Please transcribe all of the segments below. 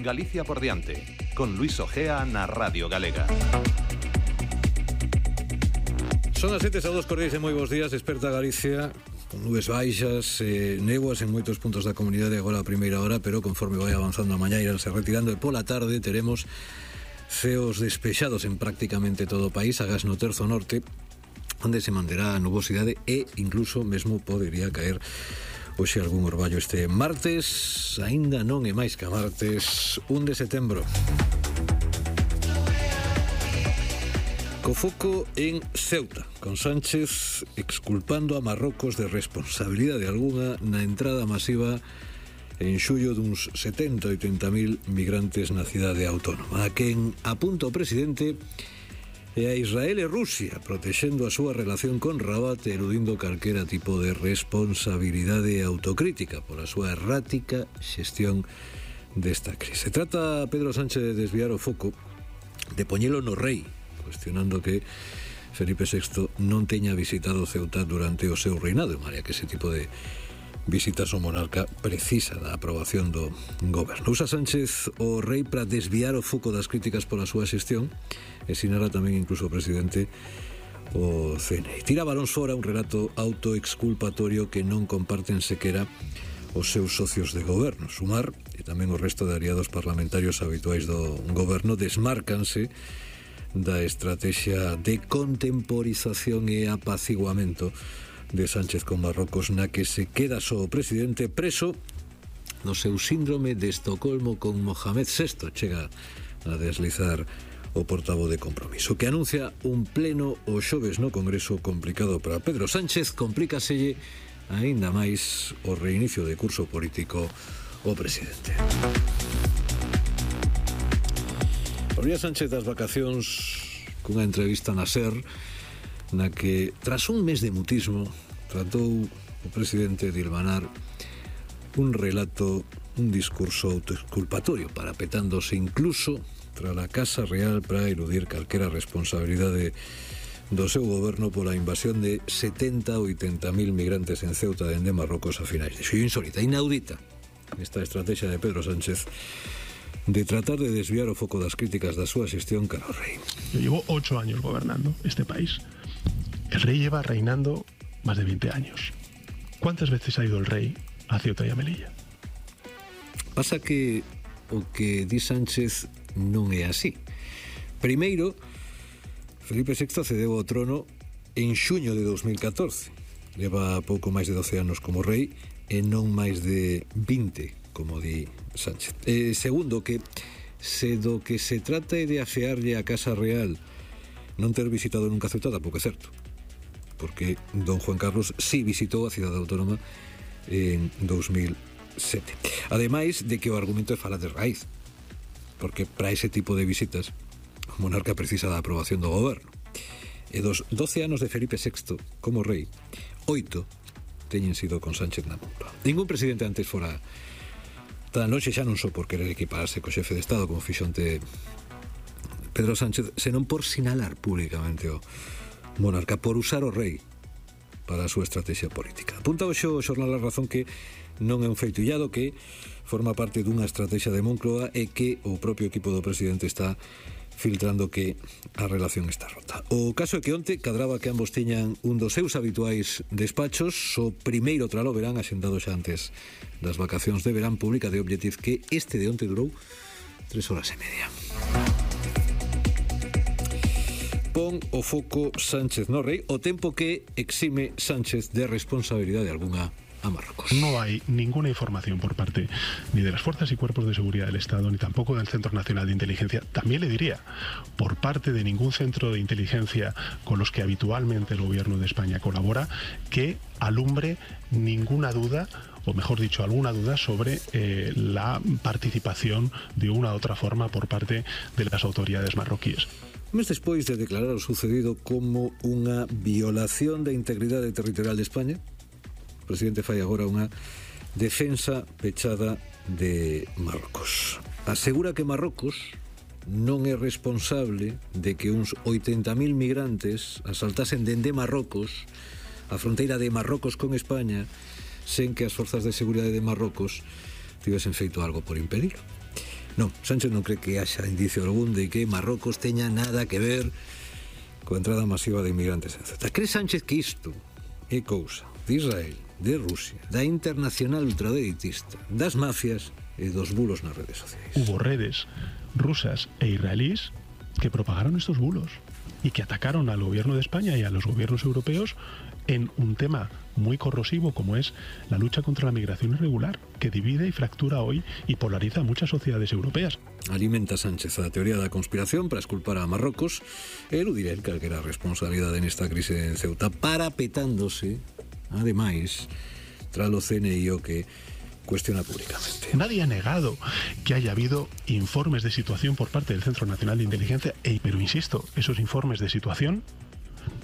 Galicia por diante, con Luis Ojea na Radio Galega. Son as 7, saúdos cordiais e moi bons días. Desperta Galicia con nubes baixas, néboas en moitos puntos da comunidade agora a primeira hora, pero conforme vai avanzando a mañá iránse retirando e pola tarde teremos ceos despexados en prácticamente todo o país, agás no terzo norte, onde se manterá a nubosidade e incluso mesmo podería caer hoxe algún orballo este martes, aínda non é máis que martes 1 de setembro. Co foco en Ceuta, con Sánchez exculpando a Marrocos de responsabilidade algunha na entrada masiva en xullo duns 70-80.000 migrantes na cidade autónoma. A quen apunta o presidente e a Israel e Rusia, protexendo a súa relación con Rabat e eludindo calquera tipo de responsabilidade e autocrítica pola súa errática xestión desta crise. Trata Pedro Sánchez de desviar o foco, de poñelo no rei, cuestionando que Felipe VI non teña visitado Ceuta durante o seu reinado, malia que ese tipo de visitas ao monarca precisa da aprobación do goberno. Usa Sánchez o rei para desviar o foco das críticas pola súa xestión e sinala tamén incluso o presidente o CNI. Tira balóns fora un relato autoexculpatorio que non comparten sequera os seus socios de goberno. Sumar e tamén o resto de aliados parlamentarios habituais do goberno desmárcanse da estrategia de contemporización e apaciguamento de Sánchez con Marrocos, na que se queda só o presidente preso no seu síndrome de Estocolmo con Mohamed VI, chega a deslizar o portavoz de Compromiso, que anuncia un pleno o xoves no Congreso complicado para Pedro Sánchez. Complícaselle aínda máis o reinicio de curso político o presidente. Volvía Sánchez das vacacións cunha entrevista na SER na que, tras un mes de mutismo, tratou o presidente de hilvanar un relato, un discurso autoexculpatorio, parapetándose incluso tras a Casa Real para eludir calquera responsabilidade do seu goberno pola invasión de 70-80.000 migrantes en Ceuta dende Marrocos a finais de xullo. Insólita, inaudita esta estrategia de Pedro Sánchez de tratar de desviar o foco das críticas da súa xestión cara ao rei. Yo llevo 8 años gobernando este país. El rey lleva reinando más de 20 años. ¿Cuántas veces ha ido el rey a Ceuta y a Melilla? Pasa que o que di Sánchez non é así. Primeiro, Felipe VI cedeu ao trono en xuño de 2014. Leva pouco máis de 12 anos como rei e non máis de 20, como di Sánchez. Segundo, que se do que se trata é de afearlle a Casa Real non ter visitado nunca Ceuta, tampouco é certo, porque don Juan Carlos sí visitou a cidade autónoma en 2007. Ademais de que o argumento é fala de raíz, porque para ese tipo de visitas o monarca precisa da aprobación do goberno. E dos 12 anos de Felipe VI como rei, 8 teñen sido con Sánchez na Moncloa. Ningún presidente antes fora tan longe, xa non só por querer equipararse co xefe de Estado como fixo ante Pedro Sánchez, senón por sinalar públicamente o monarca, por usar o rei para a súa estrategia política. Apunta hoxe o xornal A Razón que non é un feito illado, que forma parte dunha estrategia de Moncloa e que o propio equipo do presidente está filtrando que a relación está rota. O caso é que onte cadraba que ambos tiñan un dos seus habituais despachos, o primeiro tralo verán, axendado xa antes das vacacións de verán, pública de Objective, que este de onte durou 3 horas e media. Pon o foco Sánchez no rei, o tempo que exime Sánchez de responsabilidade algunha a Marruecos. No hay ninguna información por parte ni de las fuerzas y cuerpos de seguridad del Estado, ni tampoco del Centro Nacional de Inteligencia. También le diría, por parte de ningún centro de inteligencia con los que habitualmente el gobierno de España colabora, que alumbre ninguna duda, o mejor dicho, alguna duda sobre la participación de una u otra forma por parte de las autoridades marroquíes. Un mes despois de declarar o sucedido como unha violación da integridade territorial de España, o presidente fai agora unha defensa pechada de Marrocos. Asegura que Marrocos non é responsable de que uns 80.000 migrantes asaltasen dende Marrocos a fronteira de Marrocos con España sen que as forzas de seguridade de Marrocos tivesen feito algo por impedirlo. Non, Sánchez non cree que haxa indicio algún de que Marrocos teña nada que ver coa entrada masiva de inmigrantes en Ceuta. Cree Sánchez que isto é cousa de Israel, de Rusia, da internacional ultradereitista, das mafias e dos bulos nas redes sociais. Hubo redes rusas e israelíes que propagaron estos bulos y que atacaron al gobierno de España y a los gobiernos europeos en un tema muy corrosivo como es la lucha contra la migración irregular, que divide y fractura hoy y polariza a muchas sociedades europeas. Alimenta Sánchez a teoría da conspiración para esculpar a Marrocos e eludir el calquera responsabilidade nesta crise en Ceuta, parapetándose, ademais, tras o CNI o que cuestiona públicamente. Nadie ha negado que haya habido informes de situación por parte del Centro Nacional de Inteligencia, pero insisto, esos informes de situación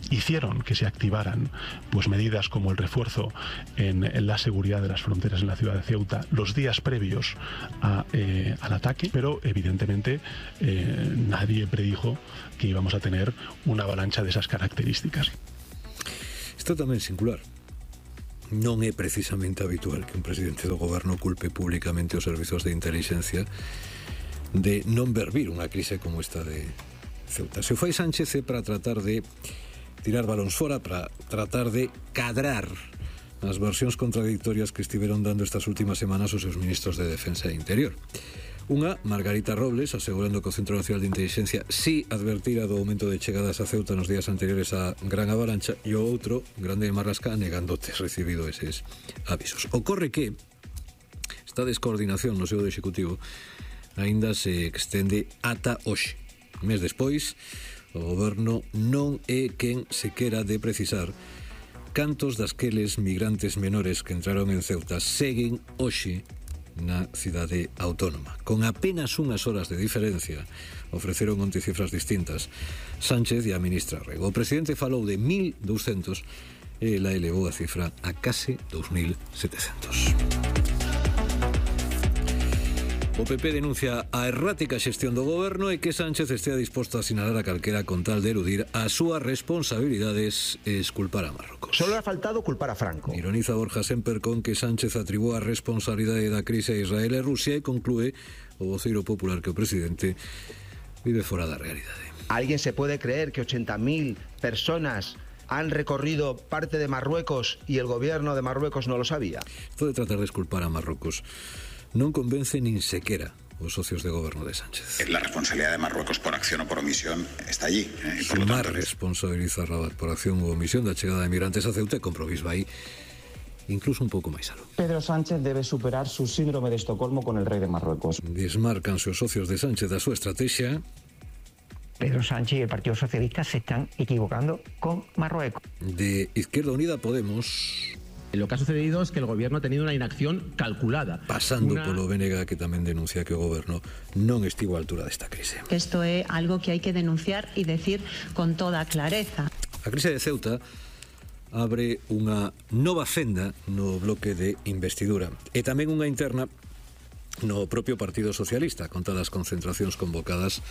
hicieron que se activaran pues medidas como el refuerzo en la seguridad de las fronteras en la ciudad de Ceuta los días previos al ataque, pero evidentemente nadie predijo que íbamos a tener una avalancha de esas características. Isto tamén singular. Non é precisamente habitual que un presidente do goberno culpe públicamente os servizos de inteligencia de non vervir unha crise como esta de Ceuta. Se o fai Sánchez é para tratar de tirar balóns fora, para tratar de cadrar as versións contradictorias que estiveron dando estas últimas semanas os seus ministros de Defensa e Interior. Unha, Margarita Robles, asegurando que o Centro Nacional de Inteligencia sí advertira do aumento de chegadas a Ceuta nos días anteriores á gran avalancha, e o outro, Grande Marlasca, negando ter recibido eses avisos. Ocorre que esta descoordinación no seu do Executivo aínda se extende ata hoxe. Un mes despois, o goberno non é quen se quera de precisar cantos dasqueles migrantes menores que entraron en Ceuta seguen hoxe na cidade autónoma. Con apenas unhas horas de diferencia, ofreceron onte cifras distintas Sánchez e a ministra Rego. O presidente falou de 1.200 e ela elevou a cifra a case 2.700. O PP denuncia a errática xestión do goberno e que Sánchez estea disposto a sinalar a calquera con tal de eludir as súas responsabilidades e esculpar a Marrocos. Solo ha faltado culpar a Franco. Ironiza Borja Semper con que Sánchez atribúa a responsabilidade da crise a Israel e Rusia e conclúe o voceiro popular que o presidente vive fora da realidade. ¿Alguien se puede creer que 80.000 personas han recorrido parte de Marruecos y el gobierno de Marruecos no lo sabía? Esto de tratar de esculpar a Marrocos non convence nin sequera os socios de goberno de Sánchez. La responsabilidad de Marruecos por acción o por omisión está allí. Por Sumar responsabiliza a Rabat por acción ou omisión da chegada de migrantes a Ceuta e compromiso aí incluso un pouco máis alto. Pedro Sánchez debe superar su síndrome de Estocolmo con el rey de Marruecos. Desmárcanse os socios de Sánchez da súa estrategia. Pedro Sánchez y el Partido Socialista se están equivocando con Marruecos. De Izquierda Unida Podemos, lo que ha sucedido es que el gobierno ha tenido una inacción calculada. Pasando polo BNG, que tamén denuncia que o goberno non estivo á altura desta crise. Esto é algo que hai que denunciar e decir con toda clareza. A crise de Ceuta abre unha nova fenda no bloque de investidura e tamén unha interna no propio Partido Socialista, con todas as concentracións convocadas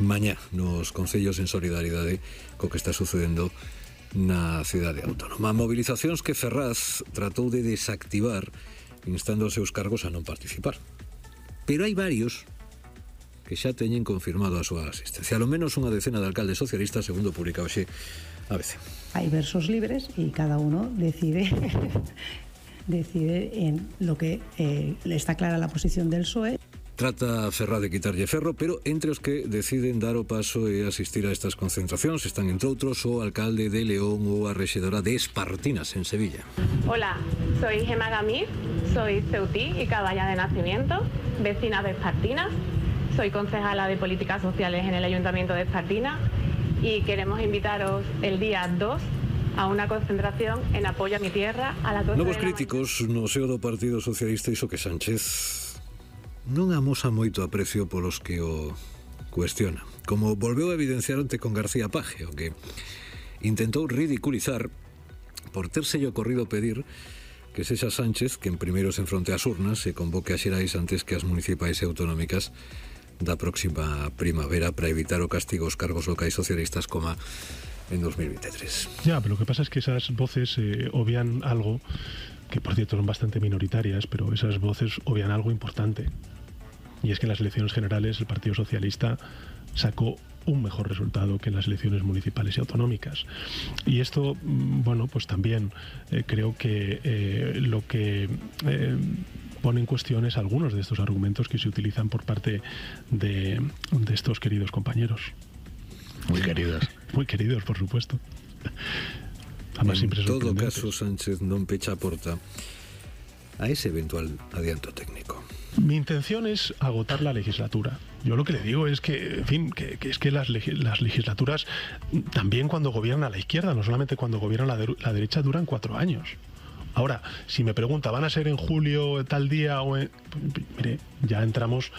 mañá nos concellos en solidaridade co que está sucedendo na cidade autónoma. Movilizacións que Ferraz tratou de desactivar instando os seus cargos a non participar. Pero hai varios que xa teñen confirmado a súa asistencia. Ao menos unha decena de alcaldes socialistas, segundo publica hoxe ABC. Hay versos libres y cada uno decide en lo que está clara la posición del PSOE. Trata Ferraz de quitarlle ferro, pero entre os que deciden dar o paso e asistir a estas concentracións están, entre outros, o alcalde de León ou a rexedora de Espartinas, en Sevilla. Hola, soy Gemma Gamir, soy ceutí y caballa de nacimiento, vecina de Espartinas. Soy concejala de Políticas Sociales en el Ayuntamiento de Espartinas y queremos invitaros el día 2 a una concentración en apoyo a mi tierra a las 12 Novos de la críticos no seo do Partido Socialista iso que Sánchez non amosa moito aprecio polos que o cuestiona, como volveu a evidenciar onte con García Paje, o que intentou ridiculizar por terselle ocorrido pedir que sexa Sánchez quen primeiro se enfronte ás urnas e convoque a xerais antes que as municipais e autonómicas da próxima primavera para evitar o castigo aos cargos locais socialistas como en 2023. Ya, pero lo que pasa es que esas voces obvian algo que, por cierto, son bastante minoritarias, pero esas voces obvian algo importante. y es que en las elecciones generales el Partido Socialista sacó un mejor resultado que en las elecciones municipales y autonómicas. Y esto, bueno, pues también creo que lo que pone en cuestión es algunos de estos argumentos que se utilizan por parte de estos queridos compañeros. Muy queridos. Muy queridos, por supuesto. Además, en todo caso, Sánchez non pecha a porta a ese eventual adianto técnico. Mi intención es agotar la legislatura. Yo lo que le digo es que, en fin, que es que las legislaturas, también cuando gobierna la izquierda, no solamente cuando gobierna la derecha, duran 4 años. Ahora, si me pregunta, ¿van a ser en julio tal día o en...? Pues, mire, ya entramos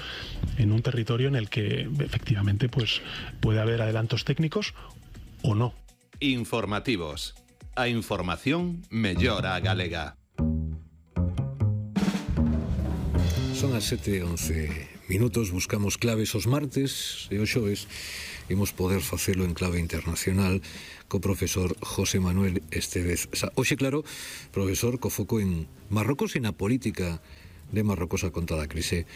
en un territorio en el que efectivamente pues puede haber adelantos técnicos o no. Informativos. A información mellora a galega. Son as 7:11 buscamos claves os martes e os xoves imos poder facelo en clave internacional co profesor José Manuel Estevez. Hoxe, claro, profesor, co foco en Marrocos e na política de Marrocos a conta da crise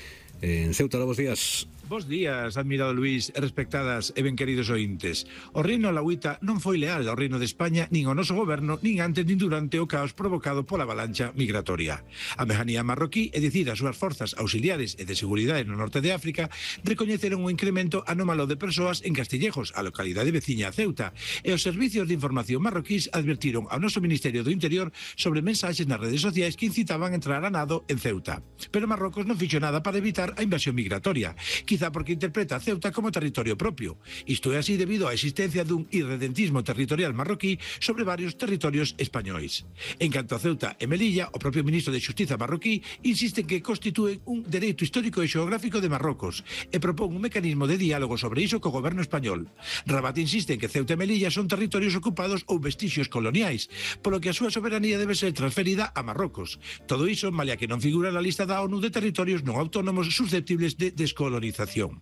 en Ceuta. Bos días. Bos días, admirado Luís, respectadas e ben queridos ointes. O reino alauita non foi leal ao reino de España, nin ao noso goberno, nin antes nin durante o caos provocado pola avalancha migratoria. A mejanía marroquí, é dicir, as súas forzas auxiliares e de seguridade no norte de África, recoñeceron un incremento anómalo de persoas en Castillejos, a localidade veciña a Ceuta, e os servicios de información marroquís advertiron ao noso Ministerio do Interior sobre mensaxes nas redes sociais que incitaban a entrar a nado en Ceuta. Pero Marrocos non fixo nada para evitar a invasión migratoria, quizá porque interpreta a Ceuta como territorio propio. Isto é así debido á existencia dun irredentismo territorial marroquí sobre varios territorios españois. En canto a Ceuta e Melilla, o propio ministro de Xustiza marroquí insiste que constitúen un dereito histórico e xeográfico de Marrocos e propón un mecanismo de diálogo sobre iso co goberno español. Rabat insiste en que Ceuta e Melilla son territorios ocupados ou vestixios coloniais, polo que a súa soberanía debe ser transferida a Marrocos. Todo iso, malia que non figura na lista da ONU de territorios non autónomos susceptibles de descolonización.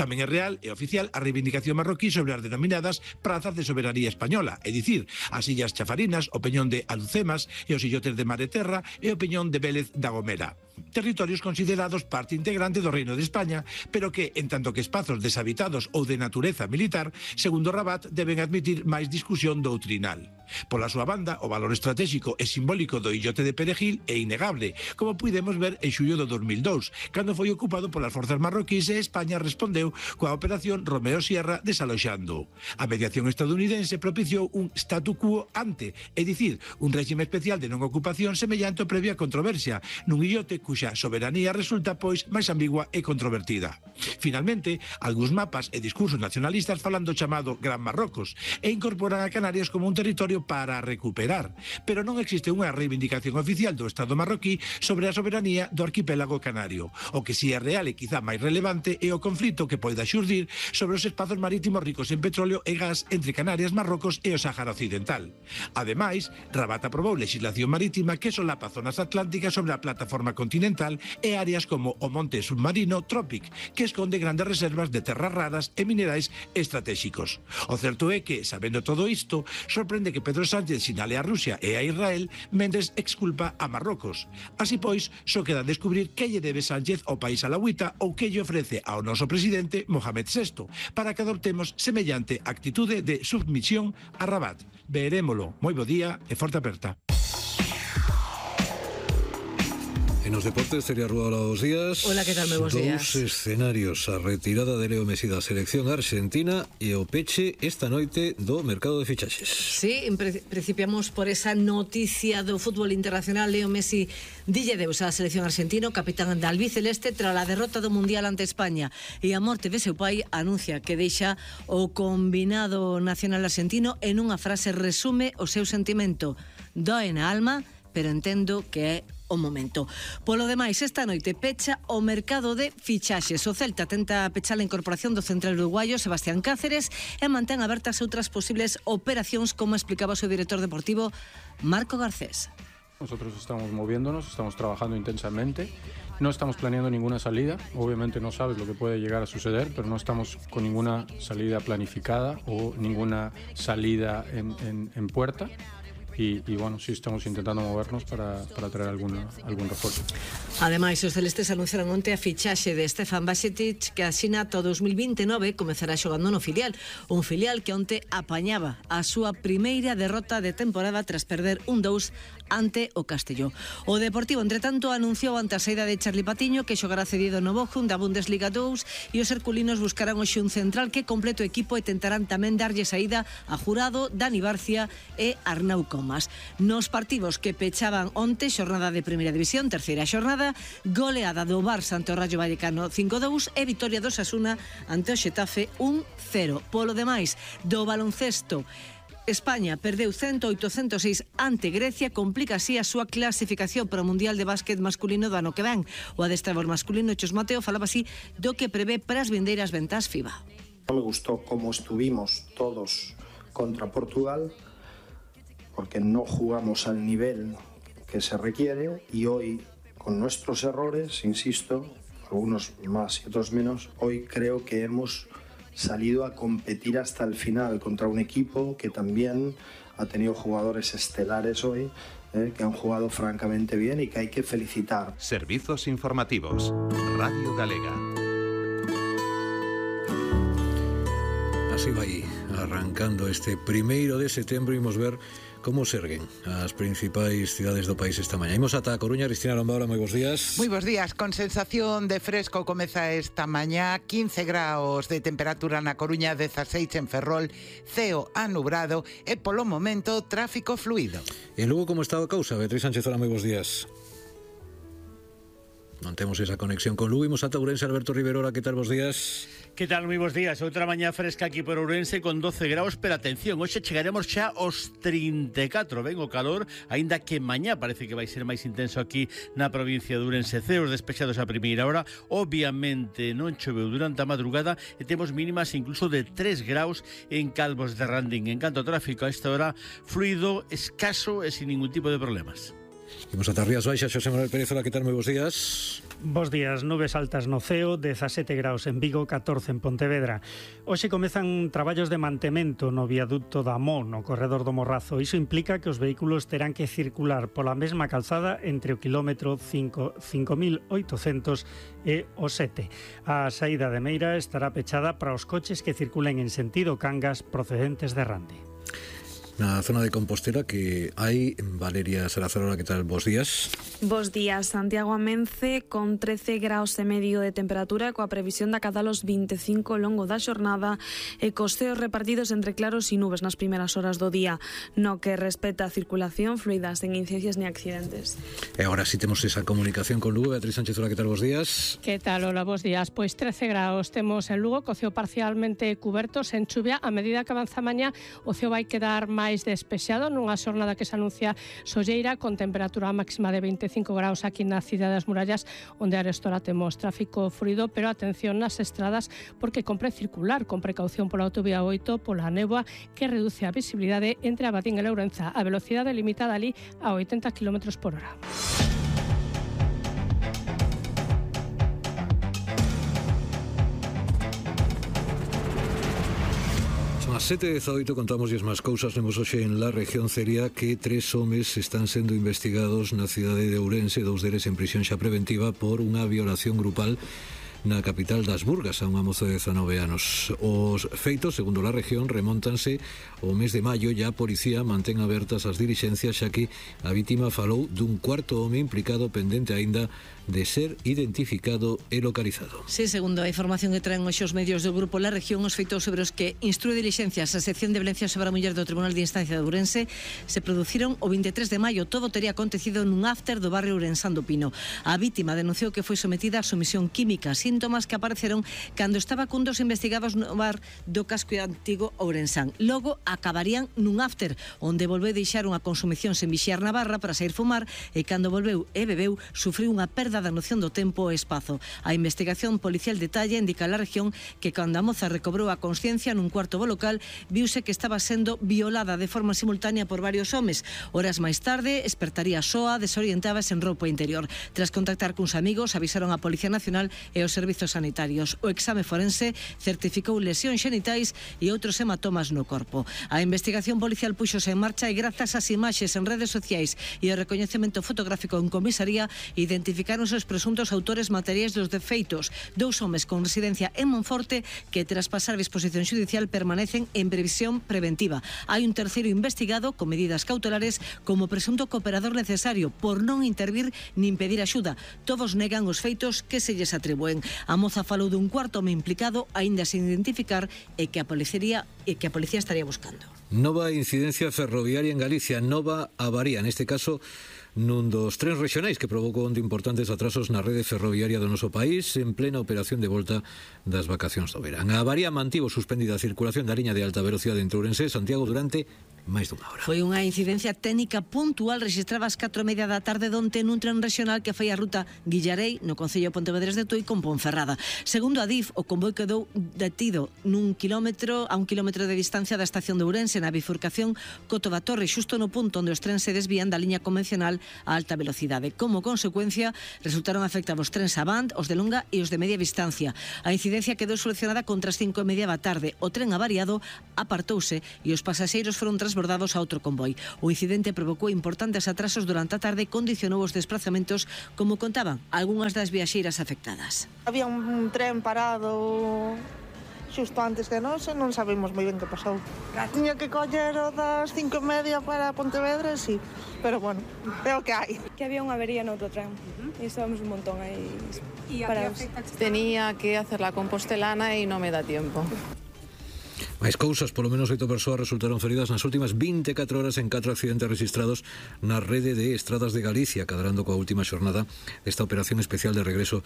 Tamén é real e oficial a reivindicación marroquí sobre as denominadas prazas de soberanía española, é dicir, as illas Chafarinas, o peñón de Alucemas e os illotes de Mar e Terra e o peñón de Vélez da Gomera. Territorios considerados parte integrante do Reino de España, pero que, en tanto que espazos deshabitados ou de natureza militar, segundo Rabat, deben admitir máis discusión doutrinal. Pola súa banda, o valor estratégico e simbólico do illote de Perejil é innegable, como pudemos ver en xullo do 2002, cando foi ocupado polas forzas marroquís e España respondeu coa operación Romeo Sierra desaloxando. A mediación estadounidense propiciou un statu quo ante, é dicir, un réxime especial de non ocupación semellante ao previa controversia, nun illote cuxa soberanía resulta, pois, máis ambigua e controvertida. Finalmente, algúns mapas e discursos nacionalistas falan do chamado Gran Marrocos e incorporan a Canarias como un territorio para recuperar, pero non existe unha reivindicación oficial do Estado marroquí sobre a soberanía do arquipélago canario. O que si é real e quizá máis relevante é o conflito que poida xurdir sobre os espazos marítimos ricos en petróleo e gas entre Canarias, Marrocos e o Sáhara Occidental. Ademais, Rabat aprobou legislación marítima que solapa zonas atlánticas sobre a plataforma continental e áreas como o monte submarino Tropic, que esconde grandes reservas de terras raras e minerais estratégicos. O certo é que, sabendo todo isto, sorprende que Pedro Sánchez sinale a Rusia e a Israel mentres exculpa a Marrocos. Así pois, só queda descubrir que lle debe Sánchez ao país alauita ou que lle ofrece ao noso presidente Mohamed VI para que adoptemos semellante actitude de submisión a Rabat. Verémolo. Moi bo día e forte aperta. En os deportes, Celia Ruola, bos días. Hola, que tal, moi bos días. Dous escenarios, a retirada de Leo Messi da selección argentina e o peche esta noite do mercado de fichaxes. Sí, principiamos por esa noticia do fútbol internacional. Leo Messi dille deus á selección argentina, capitán da albiceleste, tras a derrota do Mundial ante España e a morte de seu pai, anuncia que deixa o combinado nacional argentino en unha frase resume o seu sentimento. Doe na alma, pero entendo que é o momento. Polo demais, esta noite pecha o mercado de fichaxes. O Celta tenta pechar a incorporación do central uruguayo Sebastián Cáceres e mantén abertas outras posibles operacións, como explicaba o seu director deportivo Marco Garcés. Nosotros estamos moviéndonos, estamos trabajando intensamente, no estamos planeando ninguna salida, obviamente no sabes lo que puede llegar a suceder, pero no estamos con ninguna salida planificada o ninguna salida en puerta. y bueno, sí estamos intentando movernos para traer algún refuerzo. Ademais, os celestes anunciaron onte a fichaxe de Stefan Bajcetic, que asina ata 2029 comezará xogando no filial, un filial que onte apañaba a súa primeira derrota de temporada tras perder 1-2 ante o Castelló. O Deportivo, entretanto, anunciou ante a saída de Charlie Patiño que xogará cedido no Bochum da Bundesliga 2 e os herculinos buscarán hoxe un central que complete o equipo e tentarán tamén darlle saída a Jurado, Dani Barcia e Arnau Comas. Nos partidos que pechaban onte, xornada de Primeira División, terceira xornada, goleada do Barça ante o Rayo Vallecano 5-2 e vitoria do Osasuna ante o Xetafe 1-0. Polo demais, do baloncesto, España perdeu 108-106 ante Grecia, complica así a súa clasificación para o Mundial de Básquet masculino do ano que ven. O adestrador masculino Chus Mateo falaba así do que prevé para as vindeiras ventas FIBA. No me gustó cómo estuvimos todos contra Portugal, porque no jugamos al nivel que se requiere y hoy, con nuestros errores, insisto, algunos más y otros menos, hoy creo que hemos salido a competir hasta el final contra un equipo que también ha tenido jugadores estelares hoy, que han jugado francamente bien y que hay que felicitar. Servizos informativos. Radio Galega. Así vai arrancando este 1 de setembro. Imos ver como se erguen as principais cidades do país esta mañá. Imos ata a Coruña. Cristina Lombadora, moi bons días. Moi bons días, con sensación de fresco comeza esta mañá, 15 graus de temperatura na Coruña, 16 en Ferrol, ceo anubrado e polo momento tráfico fluido. E logo como está a causa? Beatriz Sánchez, moi bons días. Non temos esa conexión con Lugo. Imos ata Ourense. Alberto Riverola, que tal, bons días? Que tal, moi bons días. Outra mañá fresca aquí por Ourense con 12 graus, pero atención, hoxe chegaremos xa aos 34. Ven o calor, aínda que mañá parece que vai ser máis intenso aquí na provincia de Ourense. Ceos despexados a primeira hora, obviamente non choveu durante a madrugada e temos mínimas incluso de 3 graus en Calvos de Randín. En canto ao tráfico, a esta hora fluido, escaso e sin ningún tipo de problemas. Imos ata Rías Baixas. Xosé Manuel Pérez, hola, que tal, moi bons días. Bos días, nubes altas no ceo, 17 graus en Vigo, 14 en Pontevedra. Hoxe comezan traballos de mantemento no viaducto da Mó, no corredor do Morrazo. Iso implica que os vehículos terán que circular pola mesma calzada entre o kilómetro 5.800 e o 7. A saída de Meira estará pechada para os coches que circulen en sentido Cangas procedentes de Rande. Na zona de Compostela que hai Valeria Salazar, que tal, bos días. Bos días, Santiago amence con 13 graus e medio de temperatura, coa previsión de acadar os 25 ao longo da xornada e cos ceos repartidos entre claros e nubes nas primeras horas do día, no que respecta a circulación fluida, sen incidencias ni accidentes. E agora sí temos esa comunicación con Lugo. Beatriz Sánchez, que tal, bos días. Que tal, hola, bos días. Pois 13 graus temos en Lugo, co ceo parcialmente cuberto, sen chuvia. A medida que avanza mañá, o ceo vai quedar máis despexado nunha xornada que se anuncia solleira, con temperatura máxima de 25 graus aquí na cidade das Murallas, onde a restora temos tráfico fluido, pero atención nas estradas, porque compre circular con precaución pola autovía 8, pola néboa que reduce a visibilidade entre Abadín e Lourenza. A velocidade limitada ali a 80 km por hora. A 7:18 contamos máis cousas. Temos hoxe en la región Ceria que 3 homes están sendo investigados na cidade de Ourense, 2 deles en prisión xa preventiva por unha violación grupal na capital das Burgas a unha moza de 19 anos. Os feitos, segundo a región, remontanse ao mes de maio. Ya a policía mantén abertas as dilixencias, xa que a vítima falou dun cuarto home implicado pendente aínda de ser identificado e localizado. Sí, segundo a información que traen hoxe os medios do grupo La Región, os feitos sobre os que instrue dilixencias a sección de violencia sobre a muller do Tribunal de Instancia de Ourense se produciron o 23 de maio. Todo tería acontecido nun after do barrio Ourensán do Pino. A vítima denunciou que foi sometida a sumisión química, síntomas que apareceron cando estaba cun dos investigados no bar do casco antigo Ourensán. Logo acabarían nun after, onde volveu deixar unha consumición sen vixiar na barra para sair fumar, e cando volveu e bebeu, sufriu unha perda da noción do tempo e espazo. A investigación policial detalla, indica La Región, que cando a moza recobrou a consciencia nun cuarto do local, viuse que estaba sendo violada de forma simultánea por varios homes. Horas máis tarde, espertaría soa, desorientábase en roupa interior. Tras contactar cuns amigos, avisaron a Policía Nacional e os servizos sanitarios. O exame forense certificou lesións xenitais e outros hematomas no corpo. A investigación policial puxose en marcha e grazas ás imaxes en redes sociais e ao recoñecemento fotográfico en comisaría identificaronse os presuntos autores materiais dos defeitos. 2 homes con residencia en Monforte que tras pasar a disposición judicial permanecen en previsión preventiva. Hai un terceiro investigado con medidas cautelares como presunto cooperador necesario por non intervir nin pedir axuda. Todos negan os feitos que se lles atribúen. A moza falou dun cuarto home implicado aínda sen identificar e que a policía estaría buscando. Nova incidencia ferroviaria en Galicia, nova avaría, neste caso nun dos trens regionais que provocou onde importantes atrasos na rede ferroviaria do noso país en plena operación de volta das vacacións do verán. A avaría mantivo suspendida a circulación da liña de alta velocidade entre Ourense e Santiago durante máis dunha hora. Foi unha incidencia técnica puntual registrada ás 4:30 da tarde donte nun tren regional que fai a ruta Guillarei no concello de Pontevedrés de Tui con Ponferrada. Segundo a DIF, o convoi quedou detido a un kilómetro de distancia da estación de Ourense na bifurcación Coto da Torre, xusto no punto onde os trens se desvían da liña convencional a alta velocidade. Como consecuencia, resultaron afectados os trens Avant, os de longa e os de media distancia. A incidencia quedou solucionada contra as 5:30 da tarde. O tren avariado apartouse e os pasaxeiros foron transbordados a outro convoi. O incidente provocou importantes atrasos durante a tarde e condicionou os desplazamentos, como contaban algunhas das viaxeiras afectadas. Había un tren parado xusto antes que nós e non sabemos moi ben que pasou. Tiña que coller o das 5:30 para Pontevedra, sí, pero bueno, é o que hai. Que había unha avería no outro tren e estábamos un montón aí parados. Tenía que hacer la compostelana e non me dá tiempo. Máis cousas, polo menos 8 persoas resultaron feridas nas últimas 24 horas en 4 accidentes registrados na rede de estradas de Galicia, cadrando coa última xornada desta operación especial de regreso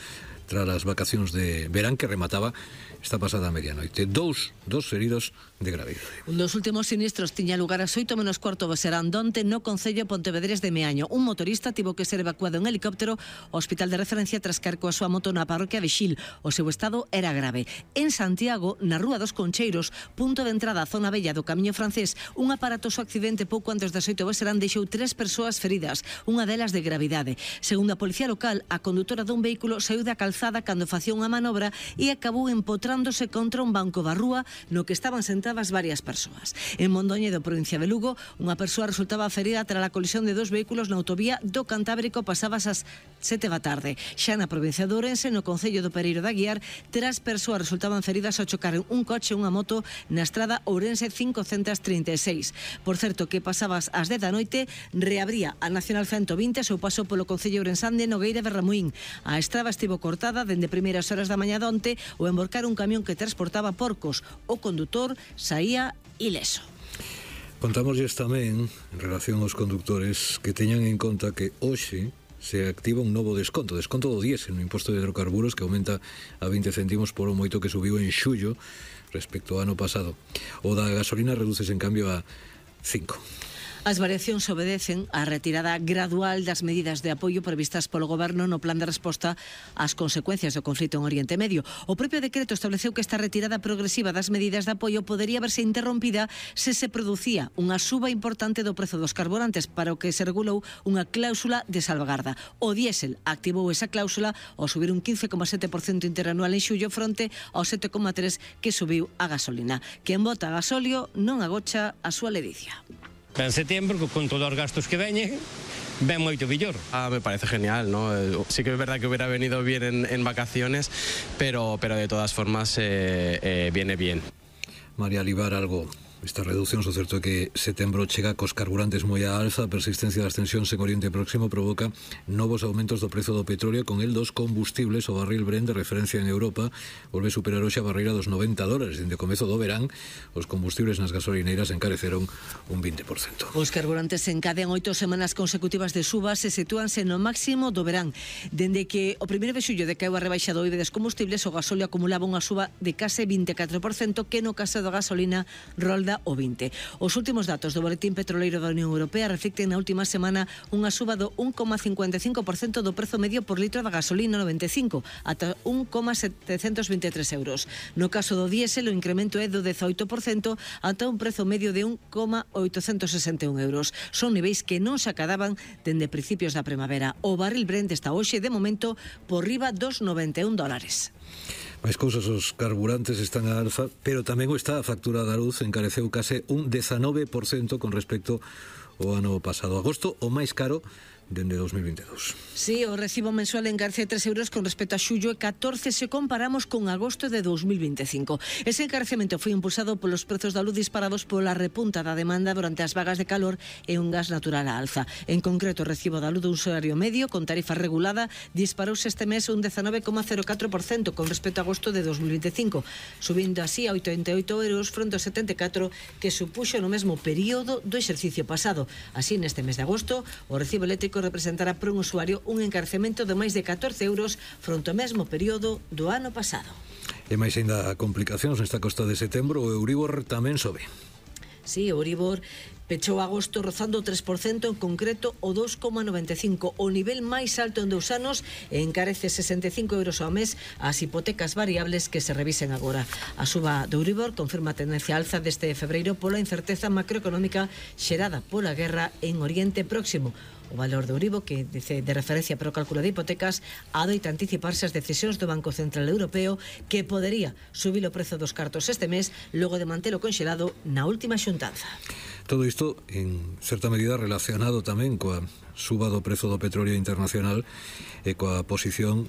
tras as vacacións de verán que remataba esta pasada medianoite. Dous heridos de gravidade. Un dos últimos sinistros tiña lugar ás 8:15 do serán donte no concello Pontevedrés de Meaño. Un motorista tivo que ser evacuado en helicóptero ao hospital de referencia tras caer coa súa moto na parroquia de Xil. O seu estado era grave. En Santiago, na Rúa dos Concheiros, punto de entrada á zona bella do Camiño Francés, un aparatoso accidente pouco antes das 8 do serán deixou 3 persoas feridas, unha delas de gravidade. Segundo a policía local, a condutora dun vehículo saiu da calzada cando facía unha manobra e acabou empotrándose contra un banco da rúa no que estaban sentadas varias persoas. En Mondoñedo, provincia de Lugo, unha persoa resultaba ferida tras a colisión de 2 vehículos na autovía do Cantábrico pasadas as 7 da tarde. Xa na provincia de Ourense, no concello do Pereiro de Aguiar, 3 persoas resultaban feridas ao chocar un coche e unha moto na estrada Ourense 536. Por certo, que pasabas ás 10 da noite, reabría a Nacional 120 seu paso polo concello ourensán de Nogueira de Berramuín. A estrada estivo cortada dende primeiras horas da mañá onte ao emborcar un camión que transportaba porcos. O condutor saía ileso. Contámosles tamén, en relación aos condutores, que teñan en conta que hoxe se activa un novo desconto do diésel no imposto de hidrocarburos que aumenta a 20 céntimos por o moito que subiu en xullo respecto ao ano pasado. O da gasolina reduces en cambio a 5. As variacións obedecen á retirada gradual das medidas de apoio previstas polo Goberno no plan de resposta ás consecuencias do conflito en Oriente Medio. O propio decreto estableceu que esta retirada progresiva das medidas de apoio podería verse interrompida se se producía unha suba importante do prezo dos carburantes, para o que se regulou unha cláusula de salvagarda. O diésel activou esa cláusula ao subir un 15,7% interanual en xullo fronte ao 7,3% que subiu a gasolina. Quen vota a gasóleo non agocha a súa ledicia. En septiembre, con todos os gastos que veñen, ven moito mellor. Me parece genial, ¿no? Sí que es verdad que hubiera venido bien en vacaciones, pero de todas formas viene bien. María Libar, algo esta reducción, o certo é que setembro chega cos carburantes moi á alza, a persistencia das tensións en Oriente Próximo provoca novos aumentos do prezo do petróleo, con el dos combustibles, o barril Brent de referencia en Europa volve superar hoxe a barreira dos $90. Dende o comezo do verán, os combustibles nas gasolineiras encareceron un 20%. Os carburantes encadean 8 semanas consecutivas de subas e sitúanse no máximo do verán. Dende que o 1 de xullo decaiu a rebaixa do IBE dos combustibles, o gasóleo acumulaba unha suba de case 24%, que no caso da gasolina rolda supera o 20. Os últimos datos do Boletín Petroleiro da Unión Europea reflicten na última semana unha suba do 1,55% do prezo medio por litro da gasolina 95 ata 1,723 euros. No caso do diésel, o incremento é do 18% ata un prezo medio de 1,861 euros. Son niveis que non se acadaban dende principios da primavera. O barril Brent está hoxe, de momento, por riba dos $91. Máis cousas, os carburantes están a alza, pero tamén está a factura da luz, encareceu case un 19% con respecto ao ano pasado. Agosto, o máis caro dende 2022. Sí, o recibo mensual encarece 3 euros con respecto a xullo e 14 se comparamos con agosto de 2025. Ese encarecemento foi impulsado polos prezos da luz disparados pola repunta da demanda durante as vagas de calor e un gas natural á alza. En concreto, o recibo da luz dun usuario medio con tarifa regulada disparouse este mes un 19,04% con respecto a agosto de 2025, subindo así a 88 euros fronte aos 74 que supuxo no mesmo período do exercicio pasado. Así, neste mes de agosto, o recibo eléctrico representará para un usuario un encarecemento de máis de 14 euros fronte ao mesmo período do ano pasado. E máis ainda complicacións nesta costa de setembro, o Euribor tamén sobe. Sí, o Euribor pechou agosto rozando o 3%, en concreto o 2,95, o nivel máis alto en 2 anos, e encarece 65 euros ao mes as hipotecas variables que se revisen agora. A suba do Euribor confirma a tendencia alza deste febreiro pola incerteza macroeconómica xerada pola guerra en Oriente Próximo. O valor do Euribor, que dice de referencia para o cálculo de hipotecas, adoita anticiparse as decisións do Banco Central Europeo que podería subir o prezo dos cartos este mes logo de mantelo conxelado na última xuntanza. Todo isto, en certa medida, relacionado tamén coa suba do prezo do petróleo internacional e coa posición